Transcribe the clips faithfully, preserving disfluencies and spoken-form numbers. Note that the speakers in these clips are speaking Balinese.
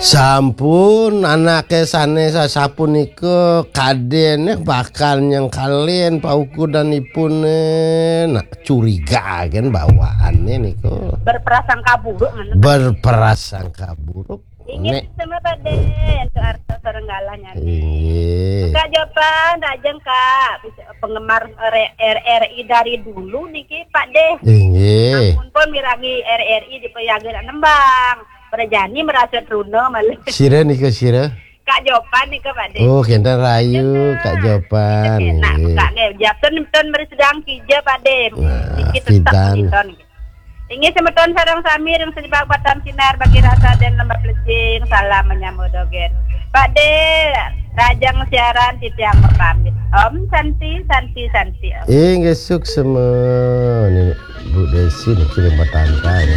Sampun, anake sane sasapunika kadene bakal nyengkalin paukudanipune. Nak curiga kan bawaane niku. Berprasangka buruk, ngono. Berprasangka buruk. Inggih, nek sama Pak De, untuk artos sareng galah nyane. Inggih. Kak Jopan, rajeng Kak, penggemar R R I dari dulu niki Pak De. Inggih. Ampun pun mirangi R R I di Peyaga nembang. Prajani merasa truna malah. Sira nika sira? Kak Jopan nika Pak De. Oh, kenten rayu, Kak Jopan. Enak, nggih. Kak, nggih. Japten pun meri sedang kija Pak De. Nah, niki tetap pidan. Meriton. Inggih semeton sareng sami ring Sejebak Batang Sinar bagi rasa dan lembah plecing, salam menyambut dogen. Pak De, rajang siaran titiang mapamit. Om Santi, Santi, Santi, Om. Inggih suksema. Ini Bu Desi niki ring Batangkai.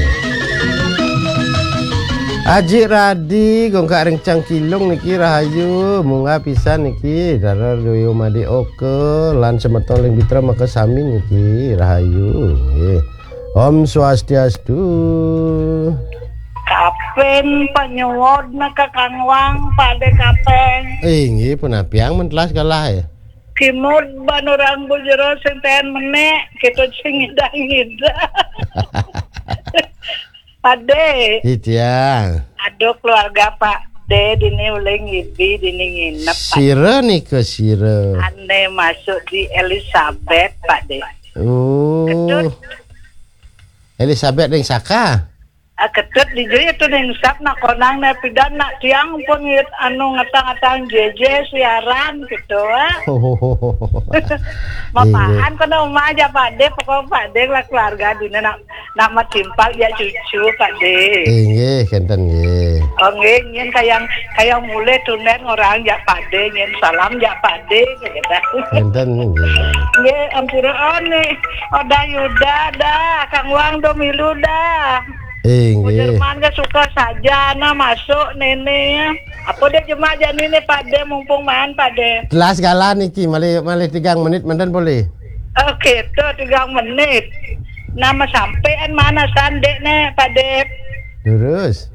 Aji Radi, Gongkak ring Cangkilung niki rahayu, munggah pisan niki, Dara Doyo Made Oka, lan semeton ring Bitra Maka sami niki rahayu. Nggih. Om Swastiastu. Kapin panyuwud naka Kang Wang, Pak De Kapin. Eh, inggih, punapiang mentelas galah ya. Kimud banurang bujero sing ten menek, kita sing ngidah-ngidah. Pak De. Itiang. Aduh, keluarga Pak De dini ulih ngidi, dini nginep, Pak. Sira nika sira. Ane masuk di Elizabeth, Pak De. Oh. Ketut. Elizabeth ring Saka. Ah, ketut di juri itu ning sap nak konang ne pidan nak tiang pun ngit anu ngetang-ngetang J J siaran gitu, ah. Mapahan kono umah aja Pak De, pokok Pak De lah keluarga dina nak nak matimpal ya cucu Pak De. Inggih, kenten nggih. Oh nggih, nyen kayang kayang mulai tunen orang jak Pak De, nyen salam jak Pak De gitu. Kenten nggih. Nggih, ampura, oh nih, Oda Yuda dah, Kang Wang do milu dah. Inggih. Jerman ke suka saja nah masuk nene. Apa dia jemak jani nih Pak De, mumpung maan Pak De. Telas galah niki, malih malih tigang menit menten boleh. Oke, tuh tigang menit. Nama sampean mana sandek nih Pak De? Lurus.